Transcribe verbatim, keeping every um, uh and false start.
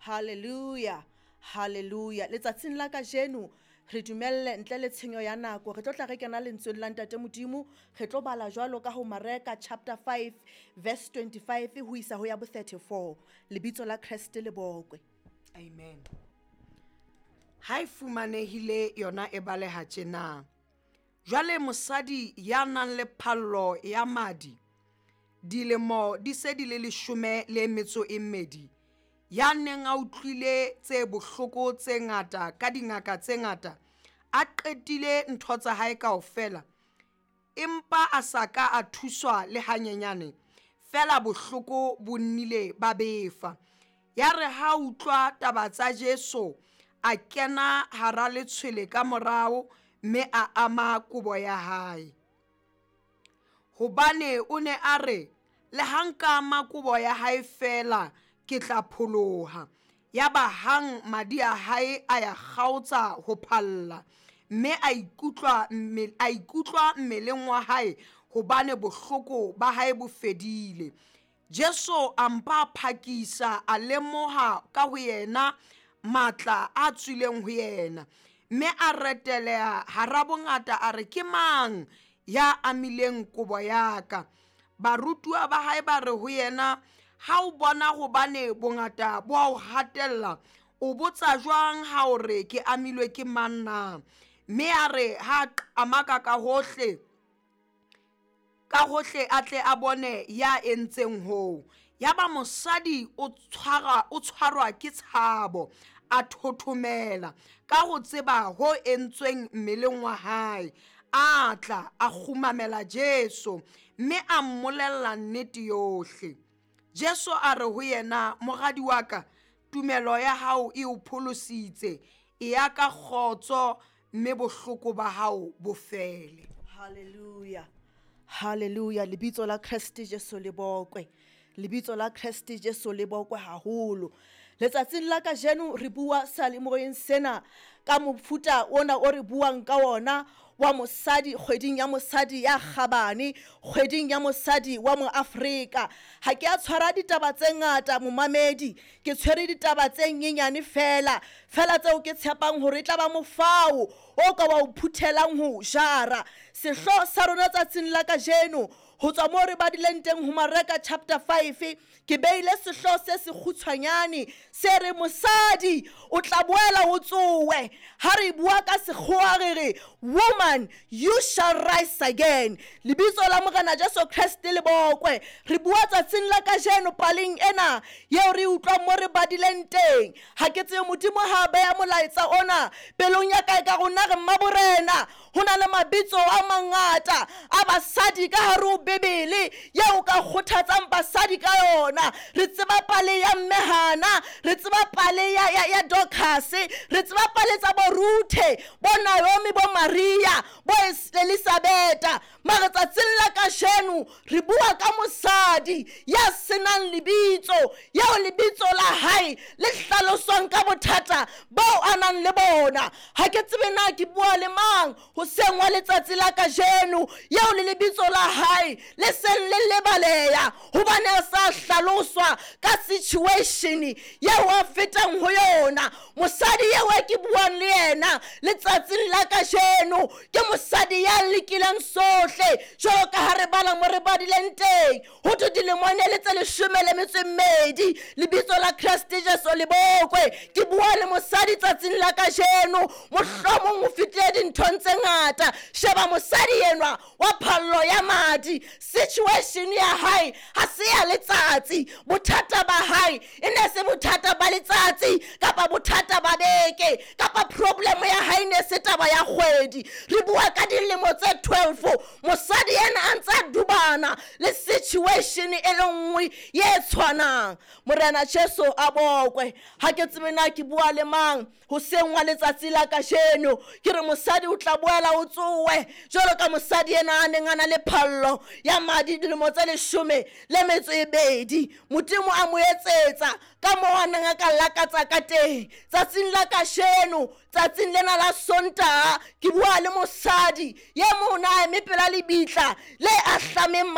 Hallelujah, hallelujah. Letsatsing la kajeno re dumelle ntle le tshenyo ya nako, re tlo tla re kena lentsweng la Ntate Modimo. Re tlo bala jwalo ka ho Mareka chapter five verse twenty-five ho isa ho ya bo thirty-four. Lebitso la Kreste le bokwe. Amen. Ha e fumanehile yona e baleha tjena. Jwale mosadi ya nang le phallo ya madi dilemo di se di le leshome le metso e mmedi, ya neng a utlwile tse bohloko tse ngata ka dingaka tse ngata, a qetile ntho tsa hae kaofela, empa a sa ka a thuswa le hanyenyane, fela bohloko bo nnile ba befa. Ya re ha utlwa taba tsa Jesu, a kena hara letshwele ka morao mme a ama kobo ya hae. Hobane o ne a re, le ha nka ama kobo ya hae fela ke tla pholoha. Yaba hang madi a hae a ya kgaotsa ho phalla, mme a ikutlwa mme a ikutlwa mmeleng wa hae hobane bohloko ba hae bo fedile. Jesu a mpa phakisa a lemoha ka ho yena matla a tswileng ho yena, mme a reteleha hara bongata a re, ke mang ya amileng kobo ya ka? Barutuwa ba hae ba re ho yena, ha o bona hobane bongata bo a o hatella, o botsa jwang ha o re ke amilwe ke mang na? Mme a re ha qamaka ka hohle, ka hohle a tle a bone ya entseng hoo. Yaba mosadi o tshwara, o tshwarwa ke tshabo, a thothomela ka ho tseba ho entsweng mmeleng wa hae. A tla a kgumamela Jesu mme a mmolella nnete yohle. Jesu a re ho yena, moradi wa ka, tumelo ya hao e o pholositse, e ya ka kgotso mme bohloko ba hao bo fele. Hallelujah, hallelujah. Lebitso la Kreste Jesu le bokwe. Lebitso la Kreste Jesu le bokwe haholo. Letsatsing la kajeno re bua salemoyeng sena ka mofuta ona o re buang ka ona wa mosadi, kgweding ya mosadi ya kgabane, kgweding ya mosadi wa moAfrika. Ha ke a tshwara ditaba tse ngata momamedi, ke tshwere ditaba tse nyenyane fela, fela tseo ke tshepang hore e tla ba mofao o ka wa o phuthelang ho jara. Sehlooho sa rona tsatsing la kajeno ho tswa moo re badileng teng ho Mareka chapter five, ke beile sehlooho se sekgutshwanyane se re mosadi o tla boela o tsowe. Ha re bua ka sekgowa re re, woman you shall rise again. Lebitso la Morena Jesu Kreste le bokwe. Re bua tsatsing la kajeno paleng ena yeo re utlwang mo re badileng teng. Ha ke tsebe Modimo ha beha molaetsa ona pelong ya ka, e ka rona re mmaborena. Ho na le mabitso a mangata a basadi ka hare ho Bibele yeo ka kgothatsang basadi ka yona. Re tseba pale ya mme Hana, re tseba pale ya, ya, ya Dorcas, re tseba pale tsa bo Ruthe, bo Naomi, bo Maria, bo Elizabeth. Mara tsatsing la kajeno re bua ka mosadi ya senang lebitso, yeo lebitso la hae le hlaloswang ka bothata bao a nang le bona. Ha ke tsebe na ke bua le mang hoseng wa letsatsi la kajeno, yeo le lebitso la hae le seng le lebaleha hobane a sa hlaloswa ka situation yeo a fetang ho yona. Mosadi eo e ke buang le yena letsatsing la kajeno ke mosadi ya lekileng sohle, jwalo ka ha re bala mo re badileng teng, ho thwe dilemo ne le tse leshome le metso e mmedi. Lebitso la Kreste Jesu le bokwe. Ke bua le mosadi tsatsing la kajeno, mohlomong o fetile dinthong tse ngata. Sheba mosadi enwa wa phallo ya madi, situation ya hae ha se ya letsatsi. Bothata ba hae e ne se bothata ba letsatsi kapa bothata ba beke kapa problem ya hae ne se taba ya kgwedi. Re bua ka dilemo tse twelve, mosadi ena a ntse a dubana le situation e le nngwe ye tshwanang. Morena Jesu a bokwe. Ha ke tsebe na ke bua le mang hoseng wa letsatsi la kajeno. Ke re mosadi o tla boela o tsowe jwalo ka mosadi ena a neng a na le phallo ya madi dilemo tse leshome le metso e bedi. Modimo a mo etsetsa ka moo a neng a ka lakatsa ka teng. Tsatsing la kajeno, tsatsing lena la Sontaha, ke bua le mosadi ye mona a eme pela lebitla le ahlameng